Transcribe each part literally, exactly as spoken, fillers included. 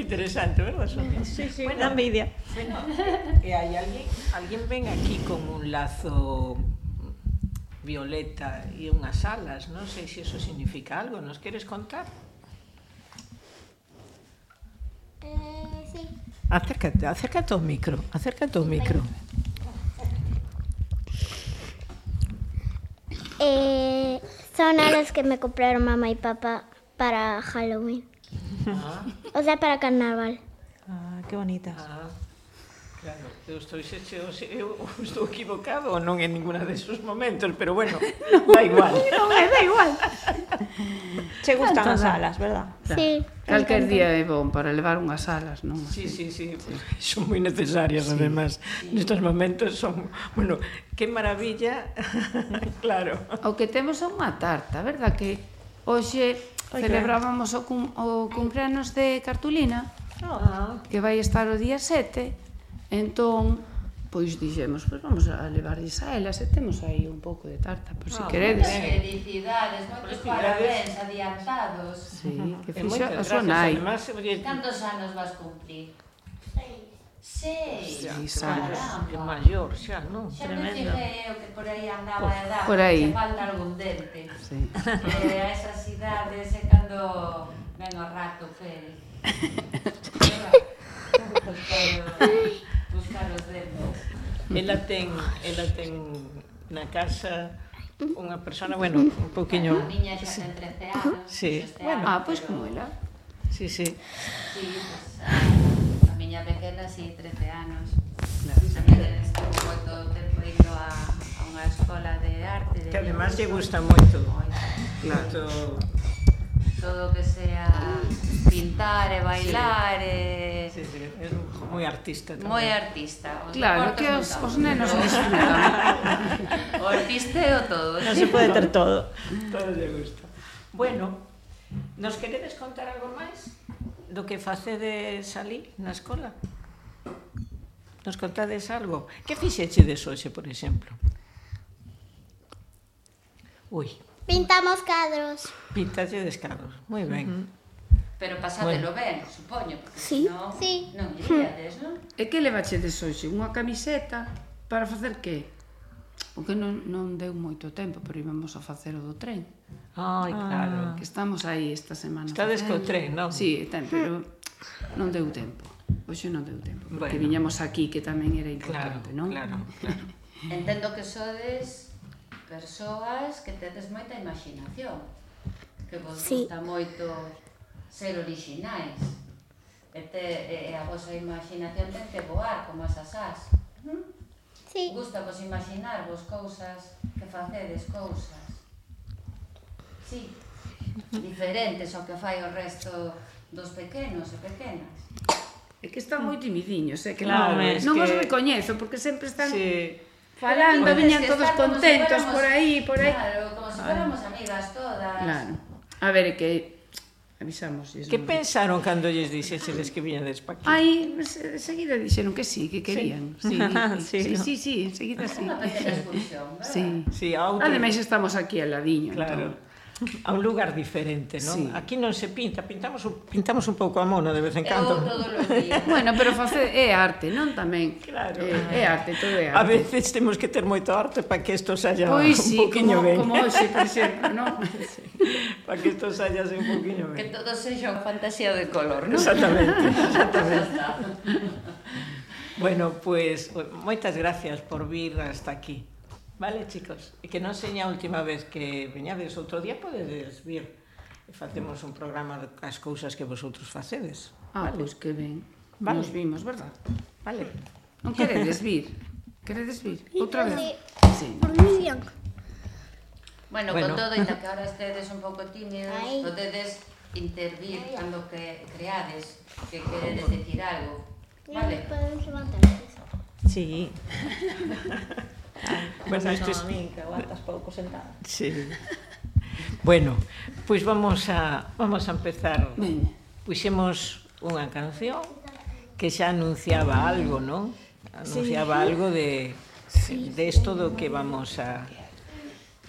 interesante, verdad, Sonia? Sí, sí, bueno, da envidia. Bueno, e hai alguén, alguén ven aquí con un lazo violeta e unhas alas, non sei se iso significa algo, nos queres contar? Eh, sí. Acércate, acércate ao micro, acércate ao micro. Eh, son alas que me compraron mamá y papá para Halloween. Ah, O sea, para carnaval. Ah, que bonitas. ah, claro, eu estou, se, se, se, eu estou equivocado ou non en ninguna desos momentos, pero bueno, da igual. Non, é da igual. Che gustan as alas, verdad? Sí. Calquer día é bon para levar unhas alas, non? Sí, sí, sí, son moi necesarias, sí. Además, nestes momentos son, bueno, que maravilla, claro. O que temos é unha tarta, verdad que hoxe celebrábamos o, cum, o cumpleanos de Cartulina, Ah, que vai estar o día sete, entón, pois dixemos, pois vamos a levarlles a elas e temos aí un pouco de tarta, por se Ah, queredes. Felicidades, moitos Felicidades. parabéns adiantados. Sí, que e fixo moitas a súa gracias, nai. además, oye, Cantos anos vas cumplir? Seis. xa, Seis claro, anos. é maior xa, non? Xa me Tremendo. fijei eu que por aí andaba a edad, por aí. que falta algún dente. Sí. Eh, a esas idades é cando ven o rato, Félix. Buscar, buscar os dentes. Ela ten, ela ten na casa unha persona, bueno, un pouquiño... A miña xa ten trece anos. Sí. este Bueno, ano, ah, pois pero- como ela. Sí, sí. Sí, pues, a, a miña pequena, sí, trece anos. Tamén estuvo moito tempo indo a, a unha escola de arte. De Que además lle dibuixo. gusta moito. Claro. Moito... Todo que sea pintar e bailar e... Sí, sí, é moi artista tamén. Moi artista. Os Claro, deportes que non os, tanto. os nenos disfrutan. O artisteo todo. Non se pode ter todo. Todo lle gusta. Bueno, nos queredes contar algo máis do que facedes ali na escola? Nos contades algo? Que fixechedes hoxe, por exemplo? Ui, Pintamos cadros. pintaxe descados. Moi ben. Pero pasátelo ben, supoño, porque Sí, senón sí. non iríades, non? E que levachedes hoxe? Unha camiseta para facer que? Porque non, non deu moito tempo, pero íbamos a facer o do tren. Ai, claro. Que estamos aí esta semana. Estades co facendo. tren, non? Sí, ten, pero non deu tempo. Hoxe non deu tempo, porque Bueno. viñamos aquí, que tamén era Claro, importante, non? claro, claro. Entendo que sodes persoas que tedes moita imaginación, que vos Sí. gusta moito ser orixinais, e, te, e a vosa imaginación ten que voar como as asás. Sí. Gusta vos imaginar vos cousas que facedes cousas. Sí, diferentes ao que fai o resto dos pequenos e pequenas. É que están moi timidiños, é que Claro, non, es non que- os recoñezo, porque sempre están Sí. falando, Pero viñan tienes que todos estar como si contentos fuéramos- por aí, por aí. Claro, como se fuéramos amigas todas. Claro. A ver, é que avisamos. Que pensaron cando lles dixesedes que viñades pa aquí? Aí, enseguida dixeron que sí, que querían. Sí, Sí, sí, ¿no? sí, sí, enseguida sí. Unha pequena excursión, verdad? Sí. Sí, a outro... Ademais estamos aquí al ladiño, Claro. entón. A un lugar diferente, non? Sí. Aquí non se pinta, pintamos un, pintamos un pouco a mono de vez en Eu cando. todos os días. Bueno, pero facer é arte, non tamén? Claro. É, é arte, todo é A arte. veces temos que ter moito arte para que isto saia Pois un sí, poquinho como, ben. como hoxe, por exemplo, non? Para que isto saia un poquinho Que ben. todo sexa fantasía de color, non? Exactamente, exactamente. Xa está. Bueno, pues moitas gracias por vir hasta aquí. Vale, chicos? E que non seña a última vez que veñades outro día, podedes vir e facemos un programa das cousas que vosotros facedes. Ah, Vale. pois que ben. Vale. Nos vimos, verdad? Vale. Non queredes vir? Queredes vir? Outra vez? Sí. Por mí bien. Bueno, Bueno. con todo, ainda que ahora estedes un pouco tímidos, Ai. podedes intervir cando que creades que queredes decir algo. Vale? Podemos levantarnos. Sí. Bueno, Bueno, isto isto es... a mí, que aguantas pouco sentada. Sí. Bueno, pois pues vamos a vamos a empezar. Veña. Puxemos unha canción que xa anunciaba algo, non? Anunciaba sí. algo de de isto do que vamos a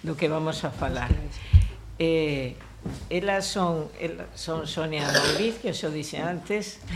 do que vamos a falar. Eh, elas son elas son Sonia Mauriz, que xo dixe antes,